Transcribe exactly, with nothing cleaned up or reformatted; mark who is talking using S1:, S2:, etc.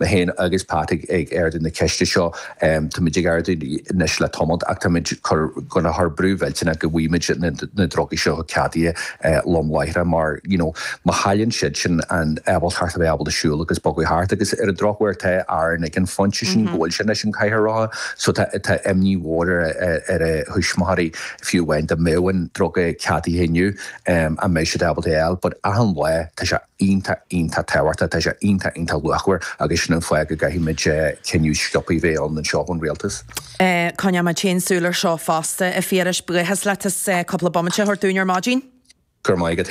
S1: Mé féin agus Pat ag ag ardú na ceiste seo Táimid ag ardú anois le tamall ach táimid gonna chur brú mhillteanach go bhfaighimid na na drugaí seo ceadaithe lom láithreach mar you know má chailleann siad sin an ábaltacht a bheith ábalta siúl agus bogadh thart agus ar an drochuair tá Aaron ag an phointe sin go bhfuil sé anois an cathaoir rotha so tá tá imní mhór ar ar a thuismitheoirí fiú amháin dá mbeadh an druga ceadaithe inniu an mbeidh siad ábalta é a fháil but achan lá tá sé iontach iontach tábhachtach tá sé iontach iontach luachmhar agus sin an fáth go gcaithfimid cinneadh sciobtha a bheith ann anseo ón rialtas.
S2: Coinneoidh muid féin súil air seo fosta a Phiarais buíochas leat as cúpla bomaite a thabhairt dúinn ar maidin.
S1: Gur maith go